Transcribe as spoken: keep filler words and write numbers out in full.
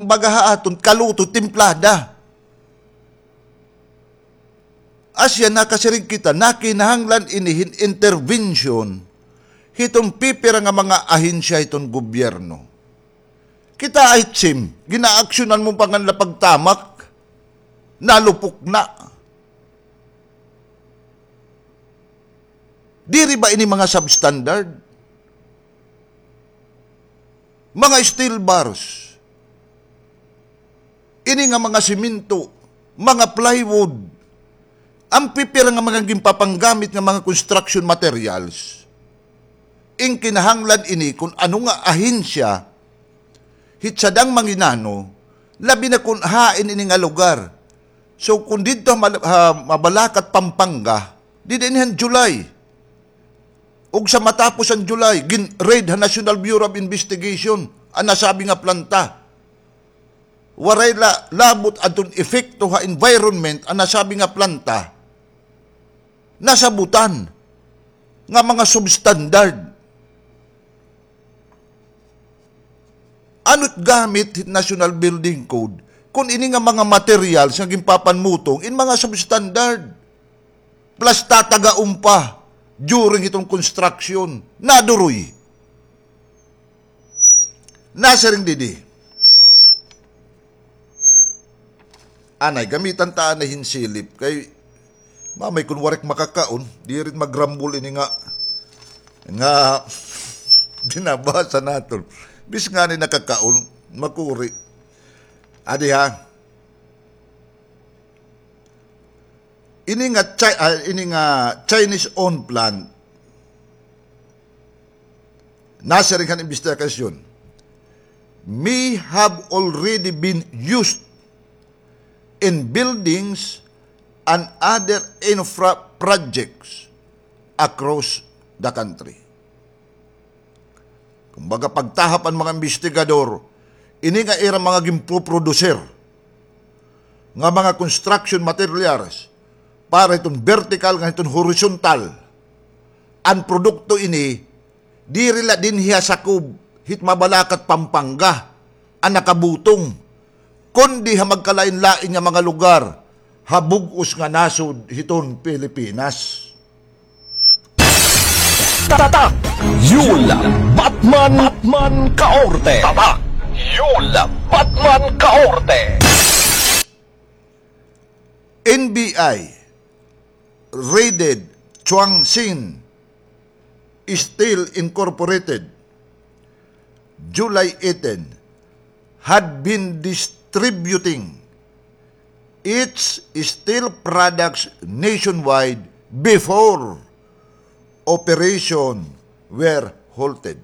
baga ha aton, kaluto, timplada. Asya nakasiring kita, nakinahanglan ini hin intervention hiton pipira nga mga ahensya hiton gobyerno. Kita ay tsim, ginaaksyonan mo pa ngan la pagtamak, nalupok na. Diri ba ini mga substandard? Mga steel bars. Ini nga mga semento, mga plywood, an pipira nga mga ginpapanggamit nga mga construction materials. In kinahanglan ini kon ano nga ahensya, hit sadang manginano, labi na kon hain ini nga lugar. So, kon didto ha Mal-, ha Mabalacat, Pampanga, dida ini han July. Ug sa matapos an July, gin-raid han National Bureau of Investigation an nasabi nga planta. Waray la labot adton epekto ha environment an nasabi nga planta. Nasabutan nga mga substandard. Ano it gamit hit National Building Code kon ini nga mga materials nga ginpapanmutong in mga substandard? Plus tatagaon pa during hiton construction. Naduroy. Nasiring didi. Anay, gamitan ta anay hin silip. Kay, mamay kon waray ak makakaon, diri it magrambol ini nga, nga binabasa naton. Bisan ngani nakakaon, makuri. Adi ha. Ini nga Chi-, ah, ini nga Chinese-owned plant, nasiring han imbestigasyon, may have already been used in buildings and other infra projects across the country. Kumbaga, pagtahap an mga imbestigador, ini nga ira mga ginpoproducer nga mga construction materials para hiton vertical ngan hiton horizontal, an produkto ini diri la dinhi ha sakob hit Mabalacat, Pampanga, an nakabutong, kundi ha magkalain-lain nga mga lugar ha bug-os nga nasod hiton Pilipinas. Tatak! Yul Batman, Batman Kaorte! Tatak! Yul Batman Kaorte! N B I raided Chuang Xin Steel Incorporated, July eighteen, had been distributing its steel products nationwide before operation were halted.